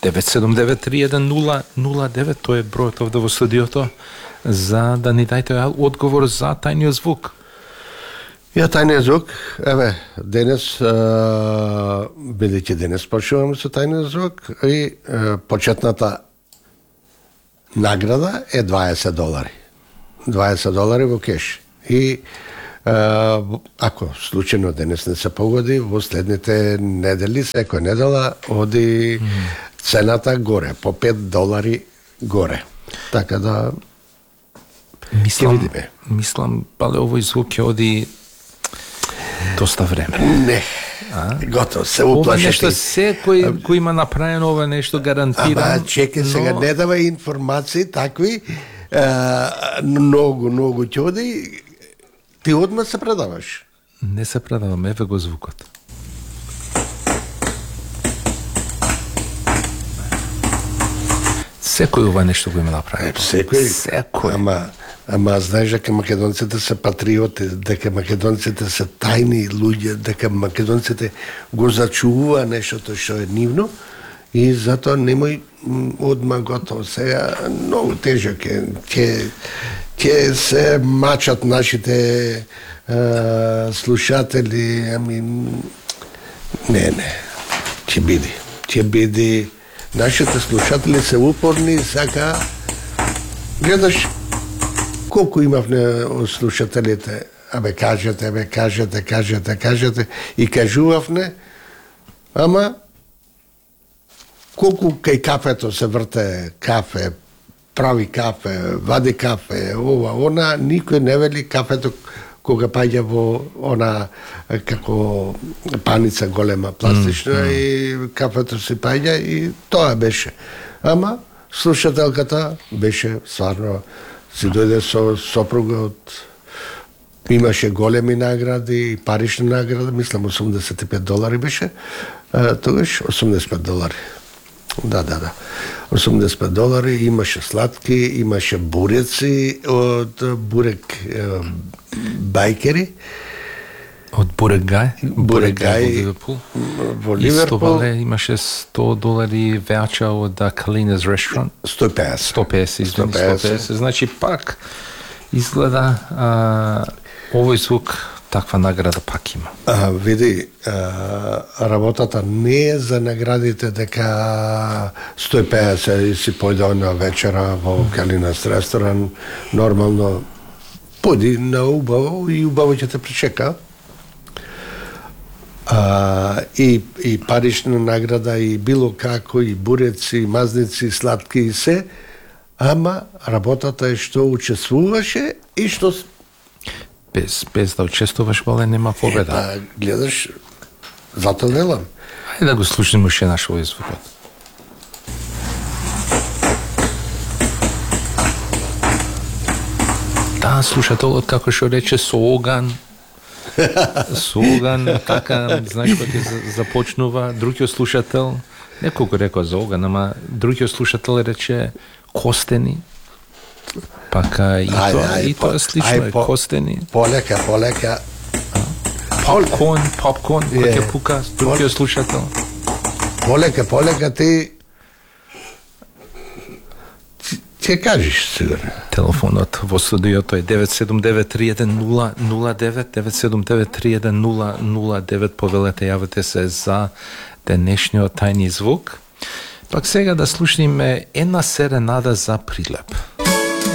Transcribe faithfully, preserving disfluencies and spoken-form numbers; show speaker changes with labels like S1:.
S1: девет седум девет три еден нула нула девет, тој е бројот овде во студиото, за да ни дајте одговор за тајниот звук.
S2: Ја, тајниот звук, еве, денес, бидејќи денес почнуваме со тајниот звук, и е, почетната награда е дваесет долари. дваесет долари во кеш. И ако случајно денес не се погоди, во следните недели, секој недела, оди mm. цената горе, по пет долари горе. Така да,
S1: мислам,
S2: ќе видиме.
S1: Мислам, пале овој звук ќе оди доста време.
S2: Не, а? Готово, се уплашете.
S1: Ова нешто секој кој има направено ова нешто гарантирано.
S2: Ама, чекай, сега
S1: но...
S2: не дава информации такви, а, многу, многу ќе оди. Ти одма се предаваш?
S1: Не се предавам, еве го звукот. Секој ова нешто го има направено.
S2: Секој?
S1: Секој.
S2: Ама, ама знаеш дека македонците се патриоти, дека македонците се тајни луѓе, дека македонците го зачувува нештото што е нивно, и затоа немој одма готово. Сега многу тежок е. Ќе ќе се мачат нашите а, слушатели, ами не, не. Ќе биде. Ќе биде. Нашите слушатели се упорни, сака гледаш колку имавме слушателите, абе кажете, абе кажете, кажете, кажете, и кажувавме, ама колку кај кафето се врте кафе, прави кафе, вади кафе, ова, она, никој не вели кафето кога паѓа во она како паница голема пластична mm, mm. и кафето си паѓа и тоа беше. Ама слушателката беше стварно, си дојде со сопругот, имаше големи награди, парични награди, мислам осумдесет и пет долари беше, тогаш осумдесет и пет долари. Да, да, да. осумдесет и пет долари, имаше сладки, имаше буреци од бурек бајкери.
S1: Од Бурек Гај?
S2: Бурек Гај во Ливерпул.
S1: Исто имаше сто долари веача од Калинес Restaurant.
S2: сто и песет.
S1: сто и песет, извини, сто и песет. Значи пак изгледа а, овој звук таква награда пак има.
S2: А, види, а, работата не е за наградите дека сто и песет и си појде на вечера во Калинес ресторан, нормално поди на убаво и убаво ќе те причека. А, и, и парична награда, и било како, и буреци, и мазници, и сладки, и се, ама работата е што учествуваше и што...
S1: Без, без да учествуваш, бале, нема победа.
S2: Е, па, гледаш, затоа велам.
S1: Ајде да го слушнемо уште наш овој звукот. Да, слушателот, како што рече, со оган, со оган, така, знаеш, кога ќе започнува, другиот слушател, неколку рекоа за оган, ама другиот слушател рече костени, пака и
S2: ај,
S1: тоа,
S2: ај,
S1: и тоа слично е,
S2: по,
S1: костени.
S2: Полека, полека.
S1: Попкорн, попкорн, кој ќе пука, другиот слушател.
S2: Полека, полека, ти ќе кажеш сигурно.
S1: Телефонот во студиото е девет седум девет три еден нула нула девет, девет седум девет три еден нула нула девет, повелете, јавете се за денешниот тајни звук. Пак сега да слушниме една серенада за Прилеп.